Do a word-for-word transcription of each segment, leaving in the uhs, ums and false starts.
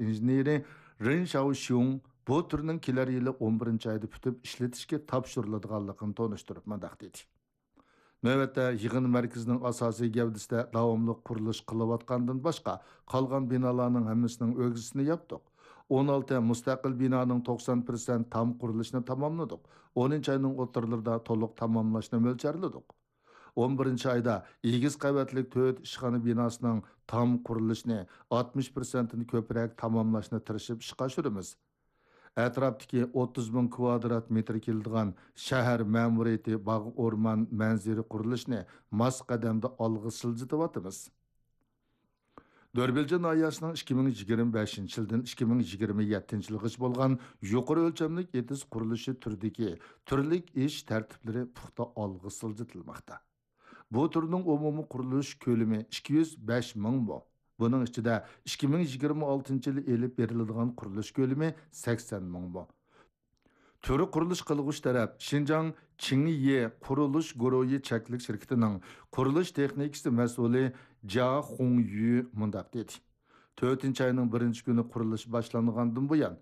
ئىنژېنېرى رېن شياۋشيۇڭ بۇ تۈرنىڭ كېلەر يىلى ئون بىرىنچى ئايدا پۈتۈپ ئىشلىتىشكە تاپشۇرۇلىدىغانلىقىنى تونۇشتۇرۇپ مۇنداق دېدى. نۆۋەتتە يىغىن مەركىزىنىڭ ئاساسىي گەۋدىسىدە داۋاملىق قۇرۇلۇش قىلىۋاتقاندىن باشقا، قالغان بىنالارنىڭ ھەممىسىنىڭ ئۆگزىسىنى ياپتۇق. ئون ئالتە مۇستەقىل بىنانىڭ توقسان پىرسەنت تام قۇرۇلۇشىنى تاماملىدۇق. ئونىنچى ئاينىڭ ئوتتۇرىلىرىدا تولۇق تاماملاشنى مۆلچەرلىدۇق. ئون بىرىنچى ئايدا ئېگىز قەۋەتلىك تۆت ئىشخانا بىناسىنىڭ تام قۇرۇلۇشىنى ئاتمىش پىرسەنتتىن كۆپرەك تاماملاشنى تىرىشىپ ئىشقا ئاشۇرىمىز. ئەتراپتىكى ئوتتۇز مىڭ كۋادرات مېتىر كېلىدىغان شەھەر مەمۇرىيىتى باغ ئورمان مەنزىرە قۇرۇلۇشىنى ماس قەدەمدە ئالغا سىلجىتىۋاتىمىز. دۆربىلجا ناھىيەسىنىڭ ئىككى مىڭ يىگىرمە بەشىنچى يىلدىن ئىككى مىڭ يىگىرمە يەتتىنچى يىلغىچە بولغان يۇقىرى ئۆلچەملىك ئېتىز قۇرۇلۇشى تۈرىدىكى تۈرلۈك ئىش تەرتىپلىرى پۇختا ئالغا سىلجىتىلماقتا. بۇ تۈرنىڭ ئومۇمىي قۇرۇلۇش كۆلىمى ئىككى يۈز بەش مىڭ مو. بۇنىڭ ئىچىدە ئىككى مىڭ يىگىرمە ئالتىنچى يىلى ئېلىپ بېرىلىدىغان قۇرۇلۇش كۆلىمى سەكسەن مىڭ مو. تۈر قۇرۇلۇش قىلغۇچ تەرەپ شىنجاڭ چىڭيې قۇرۇلۇش گۇرۇھى چەكلىك شىركىتىنىڭ قۇرۇلۇش تېخنىكىسى مەسئۇلى جيا خۇڭيۈ مۇنداق دېدى: تۆتىنچى ئاينىڭ بىرىنچى كۈنى قۇرۇلۇش باشلانغاندىن بۇيان،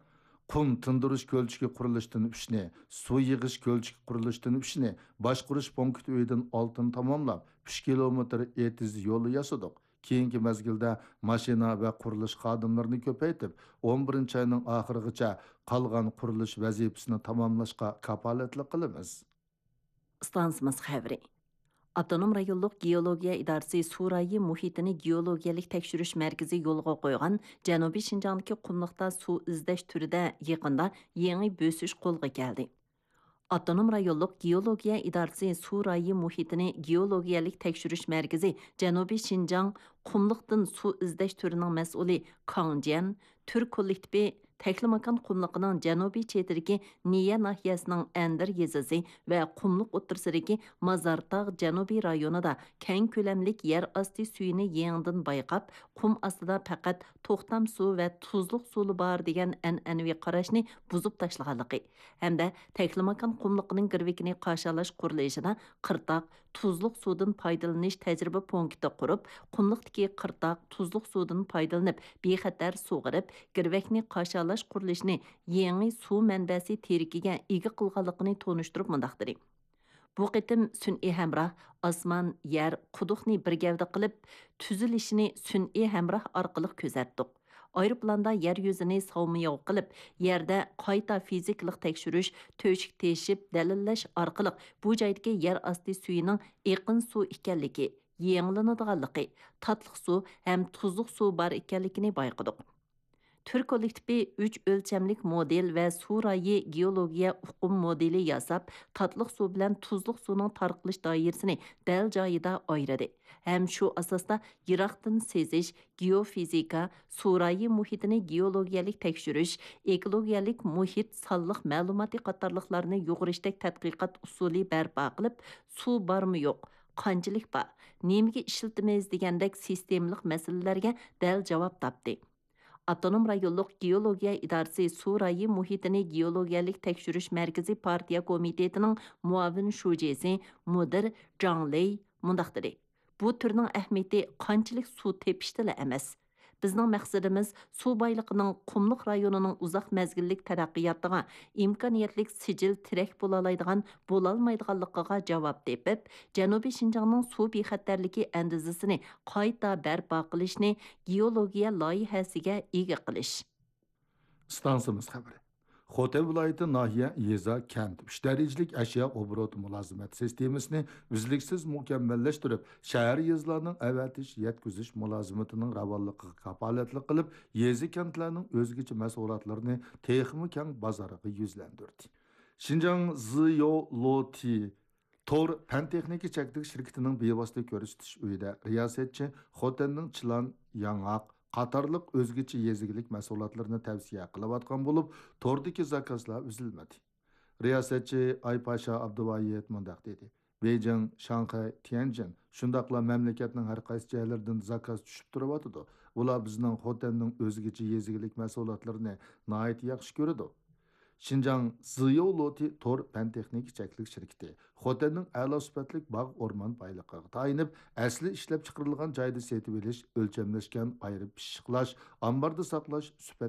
قۇم تىندۇرۇش كۆلچىكى قۇرۇلۇشىدىن ئۈچنى، سۇ يىغىش كۆلچىكى قۇرۇلۇشىدىن ئۈچنى، باشقۇرۇش پونكىتى ئۆيىدىن ئالتىنى تاماملاپ، ئۈچ كىلومېتىر ئېتىز يولى ياسىدۇق. كېيىنكى مەزگىلدە ماشىنا ۋە قۇرۇلۇش خادىملىرىنى كۆپەيتىپ، ئون بىرىنچى ئاينىڭ ئاخىرىغىچە قالغان قۇرۇلۇش ۋەزىپىسىنى تاماملاشقا كاپالەتلىك قىلىمىز. ئىستانسىمىز خەۋىرى. ئاپتونوم رايونلۇق گېئولوگىيە ئىدارىسى سۇ رايى مۇھىتىنى گېئولوگىيەلىك تەكشۈرۈش مەركىزى يولغا قويغان جەنۇبىي شىنجاڭدىكى قۇملۇقتا سۇ ئىزدەش تۈرىدە يېقىندا يېڭى بۆسۈش قولغا كەلدى. ئاپتونوم رايونلۇق گېئولوگىيە ئىدارىسى سۇ رايى مۇھىتىنى گېئولوگىيەلىك تەكشۈرۈش مەركىزى جەنۇبىي شىنجاڭ قۇملۇقتىن سۇ ئىزدەش تۈرىنىڭ مەسئۇلى كاڭ جيەن، تۈر كوللېكتىپى تەكلىماكان قۇملۇقىنىڭ جەنۇبىي چېتىدىكى نىيە ناھىيەسىنىڭ ئەندىر يېزىسى ۋە قۇملۇق ئوتتۇرىسىدىكى مازارتاغ جەنۇبىي رايونىدا كەڭ كۆلەملىك يەر ئاستى سۈيىنى يېڭىدىن بايقاپ، قۇم ئاستىدا پەقەت توختام سۇ ۋە تۇزلۇق سۇلا بار دېگەن ئەنئەنىۋى قاراشنى بۇزۇپ تاشلىغانلىقى ھەمدە تەكلىماكان قۇملۇقىنىڭ گىرۋىكىنى قاشالاش قۇرۇلۇشىدا قىرتاق تۇزلۇق سۇدىن پايدىلىنىش تەجرىبە پونكىتى قۇرۇپ، قۇملۇقتىكى قىرتاق تۇزلۇق سۇدىن پايدىلىنىپ، بىخەتەر سۇغىرىپ، گىرۋەكنى قاشالاش قۇرۇلۇشىنى يېڭى سۇ مەنبەسى تىرىكىگە ئىگە قىلغانلىقىنى تونۇشتۇرۇپ مۇنداق دېدى: بۇ قېتىم سۈنئىي ھەمراھ، ئاسمان، يەر، قۇدۇقنى بىر گەۋدە قىلىپ، تۈزۈلۈشىنى سۈنئىي ھەمراھ ئارقىلىق كۆزەتتۇق. ئايروپىلاندا يەر يۈزىنى ساۋمىياۋ قىلىپ، يەردە قايتا فىزىكىلىق تەكشۈرۈش، تۆشۈك تېشىپ، دەلىللەش ئارقىلىق بۇ جايدىكى يەر ئاستى سۈيىنىڭ ئېقىن سۇ ئىكەنلىكى، يېڭىلىنىدىغانلىقى، تاتلىق سۇ ھەم تۇزلۇق سۇ بار ئىكەنلىكىنى بايقىدۇق. تۈر كوللېكتىپى ئۈچ ئۆلچەملىك مودېل ۋە سۇ رايى گېئولوگىيە ئۇقۇم مودېلى ياساپ، تاتلىق سۇ بىلەن تۇزلۇق سۇنىڭ تارقىلىش دائىرىسىنى دەل جايىدا ئايرىدى ھەم شۇ ئاساستا يىراقتىن سېزىش، گېئوفىزىكا، سۇ رايى مۇھىتىنى گېئولوگىيەلىك تەكشۈرۈش، ئېكولوگىيەلىك مۇھىت سانلىق مەلۇماتى قاتارلىقلارنى يۇغۇرۇشتەك تەتقىقات ئۇسۇلى بەرپا قىلىپ، سۇ بارمۇ يوق، قانچىلىك بار، نېمىگە ئىشلىتىمىز دېگەندەك سىستېمىلىق مەسىلىلەرگە دەل جاۋاب تاپتى. ئاپتونوم رايونلۇق گېئولوگىيە ئىدارىسى سۇ رايى مۇھىتىنى گېئولوگىيەلىك تەكشۈرۈش مەركىزى پارتىيە كومىتېتىنىڭ مۇئاۋىن شۇجىسى، مۇدىر جاڭ لېي مۇنداق دېدى: بۇ تۈرنىڭ ئەھمىيىتى قانچىلىك سۇ تېپىشتىلا ئەمەس. بىزنىڭ مەقسىتىمىز سۇ بايلىقىنىڭ قۇملۇق رايونىنىڭ ئۇزاق مەزگىللىك تەرەققىياتىغا ئىمكانىيەتلىك سىجىل تىرەك بولالايدىغان، بولالمايدىغانلىقىغا جاۋاب تېپىپ، جەنۇبىي شىنجاڭنىڭ سۇ بىخەتەرلىكى ئەندىزىسىنى قايتا بەرپا قىلىشنى گېئولوگىيە لايىھەسىگە ئىگە قىلىش. ئىستانسىمىز خەۋىرى. خوتەن ۋىلايىتى ناھىيە، يېزا، كەنت ئۈچ دەرىجىلىك ئەشيا ئوبوروتى مۇلازىمەت سىستېمىسىنى ئۈزلۈكسىز مۇكەممەللەشتۈرۈپ، شەھەر، يېزىلارنىڭ ئەۋەتىش، يەتكۈزۈش مۇلازىمىتىنىڭ راۋانلىقىغا كاپالەتلىك قىلىپ، يېزا، كەنتلەرنىڭ ئۆزگىچە مەھسۇلاتلىرىنى تېخىمۇ كەڭ بازارغا يۈزلەندۈردى. شىنجاڭ زىيو لوتى تور پەن تېخنىكا چەكلىك شىركىتىنىڭ بىۋاسىتە كۆرسىتىش ئۆيىدە رىياسەتچى خوتەننىڭ چىلان، ياڭاق قاتارلىق ئۆزگىچە يېزا ئىگىلىك مەھسۇلاتلىرىنى تەۋسىيە قىلىۋاتقان بولۇپ، توردىكى زاكازلار ئۈزۈلمىدى. رىياسەتچى ئايپاشا ئابدۇۋايىت مۇنداق دېدى: بېيجىڭ، شاڭخەي، تيەنجىن، شۇنداقلا مەملىكەتنىڭ ھەر قايسى جايلىرىدىن زاكاز چۈشۈپ تۇرۇۋاتىدۇ. ئۇلار بىزنىڭ خوتەننىڭ ئۆزگىچە يېزا ئىگىلىك مەھسۇلاتلىرىنى ناھايىتى ياخشى كۆرىدۇ. شىنجاڭ زىياۋلوتى تور پەن تېخنىكا چەكلىك شىركىتى خوتەننىڭ ئەلا سۈپەتلىك باغ ئورمان بايلىقىغا تايىنىپ، ئەسلى ئىشلەپچىقىرىلغان جايدا سېتىۋېلىش، ئۆلچەملەشكەن، ئايرىپ پىششىقلاش، ئامباردا ساقلاش، سۈپەت